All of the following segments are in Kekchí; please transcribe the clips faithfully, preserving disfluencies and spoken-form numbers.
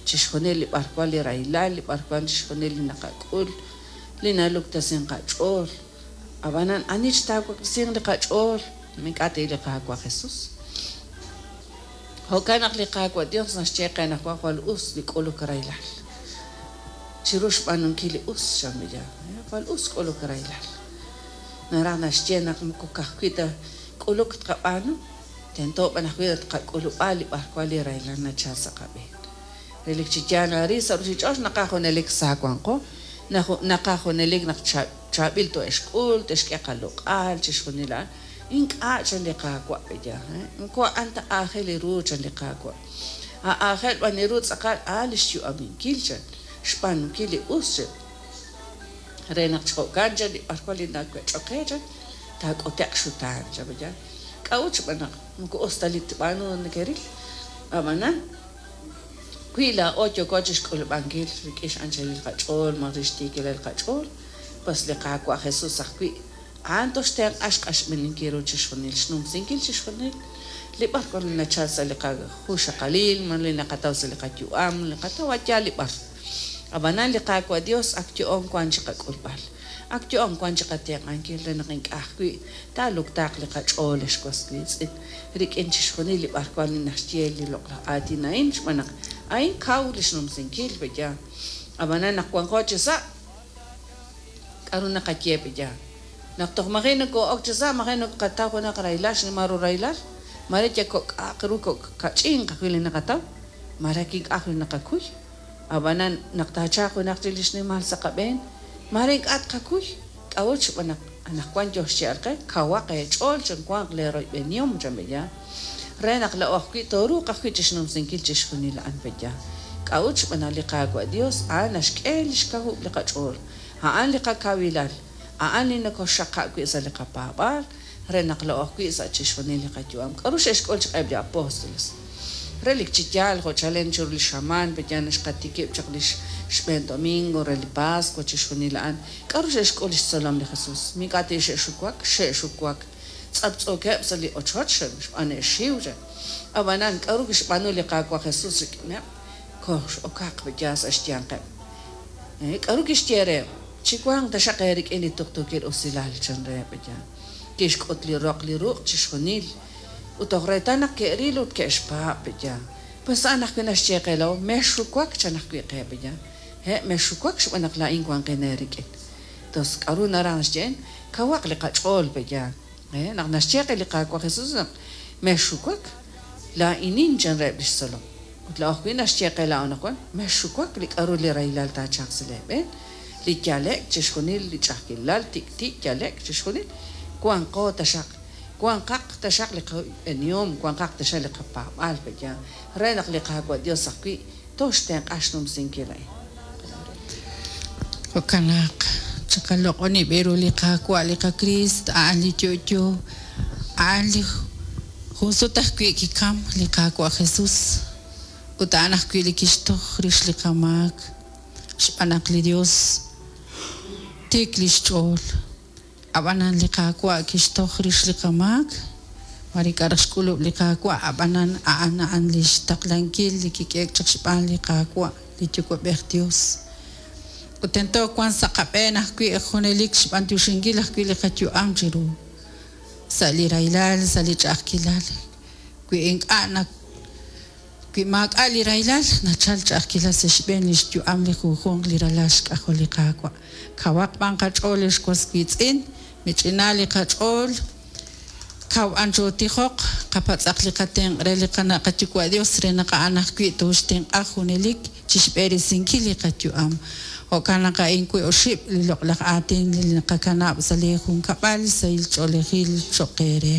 Chixjunil li b'arwan li rahilal, li b'arwan chixjunil li naqak'ul, li naluktasin qach'ool. Ab'anan ani xtaawaklisinq li qach'ool, ink'a' ti li Qaawa' Jesus. Jo'kan naq li Qaawa' Dios naxye qe naq jwal us li k'uluk rahilal. Chiru xb'aanunkil li us, xamilla, jwal us k'uluk rahilal. Naraj naxye naq moko ka'ajwi' ta k'uluk tqab'aanu, tento b'an ajwi' tqak'ulub'a li b'arwan li rahilal nachal sa' qab'een. Relik chi yaal arin sa' ruchich'och' naqaj junelik sa wanqo, naqaj junelik naq chaab'il to'exk'ul, te'xk'e qaloq'al, chixjunil a'an. Ink'a' chan li Qaawa' peya, moko a'an ta aajel ru chan li Qaawa'. Aajel b'an ru tz'aqal a'an li xyu'aminkil chan, xb'aanunkil li us chan. Re naq jo'kan chan li b'arwan li nawech'ok qe chan, taak'ute'q xutaan chan peya. K'a'ut xb'aan naq moko us ta li tb'aanu nekeril. Ab'anan wi laa'o yooko chixk'ulub'ankil rik'in x'anchalil qach'ool, ma rixtiikilal qach'ool, pues li Qaawa' Jesus ajwi' a'an toxtenq'a xq'axb'eninkil ru chixjunil, xnumsinkil chixjunil li b'arwan li nachal sa' li qajuxaqalil, ma li naqataw sa' li qayu'am, li qataw yaal li b'ar. Ab'anan li Qaawa' Dios ak yo'on wan chi qak'ulb'al, ak yo'on wan chi qatenq'ankil re naq ink'a' ajwi' taaluktaaq li qach'ool ex was wiitz'in rik'in chixjunil li b'arwan li naxye li loq'laj aatin a'in, xb'aan naq a'in kaw li xnumsinkil peya. Ab'anan naq wanqo chi sa', k'aru naqaye peya. Naq toj maji' nokoo'ok chi sa', maji' nokaqataw junaq rahilal, xnimal ru rahilal, mare ya kok'aq ru kach'inq ajwi' li naqataw, mare ink'a' ajwi' naqakuy. Ab'anan naq taachalq junaq li xnimal sa' qab'een, mare ink'a' tqakuy. K'a'ut xb'aan naq anaqwan yo xye'al qe, kawaq eech'ool chan wanq leeroyb'enihom chan peya. Re naq laa'o ajwi' tooruuq ajwi' chixnumsinkil chixjunil a'an peya. K'a'ut xb'aan naq li Qaawa' Dios a'an naxk'e li xkawub' li qach'ool, a'an li qakawilal, a'an li nokoxxaqab' wi' sa' li qapaab'aal, re naq laa'o ajwi' sa' chixjunil li qayu'am. K'aru xe'xk'ul chaq eb' li apóstoles? Relik chi yaal jo' chalen chiru li xamaan peya naxqatikib' chaq li xb'een domingo re li Pascua chixjunil a'an. K'aru xe'xk'ul li xtzolom li Jesus? Ink'a' ti xe'xuwak, xe'xuwak. Tz'aptz'ookeb' sa' li ochoch xb'aan e'xiw chan. Ab'anan k'aru kixb'aanu li Qaawa' Jesus rik'ineb'? Kox'okaq peya sa' xyanqeb'. K'aru kixye reheb'? Chiwanq taxaq eerik'in li tuqtuukil usilal chan reheb' peya. Kixk'ut li roq li ruq' chixjunil. Ut toj reetal naq ke'ril ut ke'xpaab' peya. Pues a'an ajwi' naxye qe laa'o, mexxuwak chan ajwi' qe peya. He, mexxuwak xb'aan naq laa'in wanqin eerik'in. Tos k'aru naraj naxye? Kawaq li qach'ool peya. He, naq naxye qe li Qaawa' Jesus naq mexxuwak, laa'inin chan reheb' li xtzolom. Ut laa'o ajwi' naxye qe laa'o naq wan, mexxuwak li k'aru li rahilal taachalq sa' leeb'een, li yale'k chixjunil li ch'a'ajkilal, tik'ti' yale'k chixjunil, wanqo taxaq, wanqaq taxaq li qab'enihom, wanqaq taxaq li qapaab'aal peya, re naq li Qaawa' Dios ajwi' toxtenq'a xnumsinkil a'in. Jo'kan naq chiqaloq'oni b'e ru li Qaawa' li qaKriist, a'an li yo'yo, a'an li jun sut ajwi' kikam li Qaawa' Jesus, ut a'an ajwi' li kixtoj rix li qamaak, xb'aan naq li Dios tiik li xch'ool. Ab'anan li Qaawa' kixtoj rix li qamaak, mare ink'a' raj xk'ulub' li Qaawa', ab'anan a'an a'an li xtaqlankil li kik'eek chaq xb'aan li Qaawa', li Yuwa'b'ej Dios. Ut tento wan sa' qab'een ajwi' junelik xb'antioxinkil ajwi' li qayu'am chiru, sa' li rahilal, sa' li ch'a'ajkilal. Wi ink'a' na wi maak'a' li rahilal, nachal ch'a'ajkilal sa' xb'een li xyu'am li junjunq li ralal xk'ajol li Qaawa'. Kawaq b'an qach'ool ex was wiitz'in, mich'ina li qach'ool, kaw anchotijoq, qapatz'aq li qatenq' re li qana' qayuwa' Dios re naq a'an ajwi' tooxtenq'a junelik chixb'eresinkil li qayu'am. Jo'kan naq a'in wi oxib' li loq'laj aatin li naqakanab' sa' li junkab'al sahil ch'oolejil cho'q eere.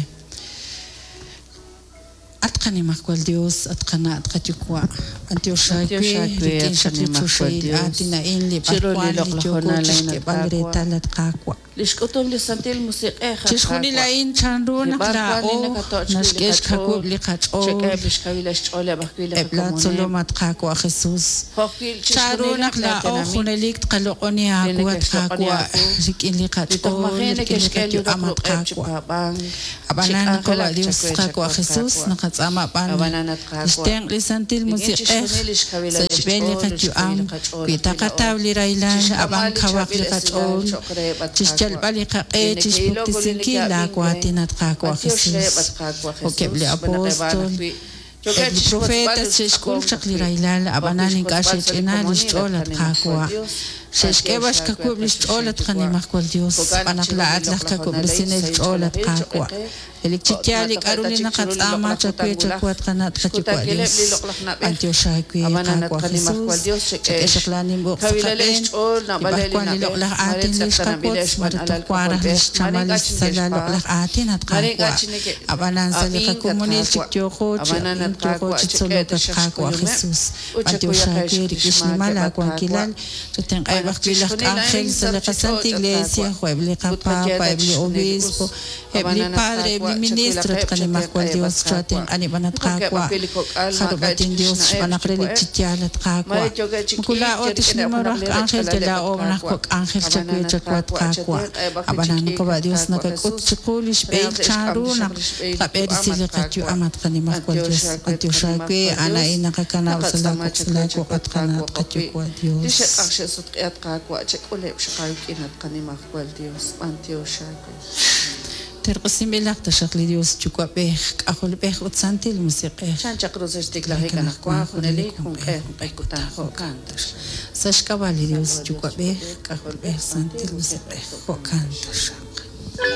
At qanimajwal Dios, at qana' at qayuwa', b'antiox aawe rik'in xaq li choxahil aatin a'in li Chiru li b'arwan li loq'laj yooko honal a'in, at chixk'eeb'al Qaawa'. reetal at Qaawa'. Li xk'utum li Santil Musiq'ej, at Chixjunil Qaawa'. a'in chanru Li naq b'ar wan li laa'o nakatoch' wi' li naxk'e qach'ool, xkawub' li qach'ool Chek'eheb' lix kawilal xch'ooleb' ajwi' li eb' laa qakomoneb', tzolom at Qaawa' Jesus. jo' ajwi' Chanru chixjunileb' naq laa laa'o tenamit junelik tqaloq'oni li aawu at neke'xloq'oni Qaawa' aawu, rik'in li li toj qach'ool maji' rik'in li neke'xk'e li qayu'am roq at ruq'eb' chi Qaawa'. paab'ank, chi Ab'anan k'anjelak Qaawa' Dios chawe Qaawa' chawe, Jesus Qaawa'. naqatz'aama b'an Ab'anan at lix Qaawa', tenq' li Santil rik'in Musiq'ej chixjunil lix sa' kawilaleb' xb'een li xch'ool ut qayu'am xkawil qach'ool wi ajwi' taqataw laa'o, li rahilal ab'an chixk'amb'al li kawaq li chaab'il esilal qach'ool cho'q reheb' at Qaawa', chixyalb'al li qaq'e li neke'ilok ut li chixpuktesinkil neke'ab'ink re. laawaatin at Qaawa' B'antiox reheb' Jesus at Qaawa' jo'keb' Jesus, li xb'aan naq eb' a'an apóstol ajwi' yookeb' eb' li chixwotzb'al profetas ut xe'xk'ul tz'aqonk chaq li ajwi', rahilal jo' ajwi' ab'anan ink'a' xwotzb'al sa' li xe'ch'ina li komonil at xch'ool at qaNimajwal Qaawa' Dios. xe'xk'e B'antiox b'an aawe at xkawub' li xch'ool qaChoxahil at Yuwa'. qaNimajwal Dios Jo'kan xb'aan naq naq chiru li laa'at laj loq'laj honal a'in kawub'resinel sahil ch'ool at ch'oolejil cho'q Qaawa' qe, relik chi jo' yaal li toj k'a'ru ta li chik chiru li naqatz'aama loq'laj chawe kutan wulaj, chawe at qana' at qaYuwa' xkutankileb' Dios li loq'laj na'b'ej. b'antiox aawe Ab'anan at Qaawa' qaNimajwal Jesus Dios chek'e chak'e xaq laanim uq' sa' xkawilaleb' qab'een xch'ool li naab'aleb' li b'arwan li na'b'ej, loq'laj mare aatin li tz'eqtananb'ileb' xqawotz xb'aan mare alal toj wan raj li k'ajolb'ej, mare xchamal ink'a' li xsala chineke'xpaab', loq'laj aatin at mare ink'a' Qaawa' ab'anan sa' li chineke'ab'ink at qakomonil chik Qaawa'. yooqo chi Ab'anan at ab'ink yooqo Qaawa' chi chek'e tzolok at taxaq Qaawa' xkuyumeb' Jesus ut b'antiox chakuyaqeb' aawe li rik'in xnimal xmaakeb' at Qaawa'. aawankilal chatenq'aheb' Xb'aan naq ajwi' laj chixjunil a'in k'anjel sa' sa' li ruuchich'och' qaSanta at Iglesia Qaawa', jo' eb' li ut qaye qapapa ta eb' li chixjunil li us. obispo eb' li Ab'anan at padre eb' li Qaawa' ministro at chawilaqeb' qaNimajwal chatenq'aheb' Dios at Qaawa'. chatenq'anib'an at Jo'keb' Qaawa' ajwi' li kok'al maak'a' jarub'atin chik Dios xna'eb' xb'aan naq relik chi xyuwa'eb', yaal at mare Qaawa' yookeb' chi moko k'iik laa'o yal rik'ineb' tixnima junaq ru aj li k'anjel rechkalaleb' at yal laa'o naj Qaawa'. kok' k'anjel chawe Ab'anan at chawe at Qaawa' Qaawa' chatenq'aheb' ajwi' chi ab'anan k'iik Qaawa' at Dios Qaawa' nakak'ut Jesus, chiqu li re xb'ehil naq te'xk'am chanru taxaq naq li xb'ehil li yu'am tqab'eresi at li Qaawa'. qayu'am at qaNimajwal B'antiox Dios aawe at b'antiox aawe qaNimajwal a'an Dios, a'in naqakanab' sa' naqatz'aama laawuq' sa' chawe laawuq' chawe at at qana' at Qaawa' ajwi' qaYuwa' li Dios xe'q'aj xe'sutq'i at Qaawa' chek'uleb' xaq aawik'in at qaNimajwal Dios. B'antiox aawe. Terq'usinb'ilaq taxaq li Dios Yuwa'b'ej K'ajolb'ej ut Santil Musiq'ej Chan chaq ru sa' xtiklajik anaqwan junelik junq'e junq'e kutan jo'kan taxaq. sa' xk'ab'a' li Sa' Dios Dios Yuwa'b'ej Yuwa'b'ej K'ajolb'ej K'ajolb'ej Santil Santil Musiq'ej Musiq'ej jo'kan jo'kan taxaq. taxaq.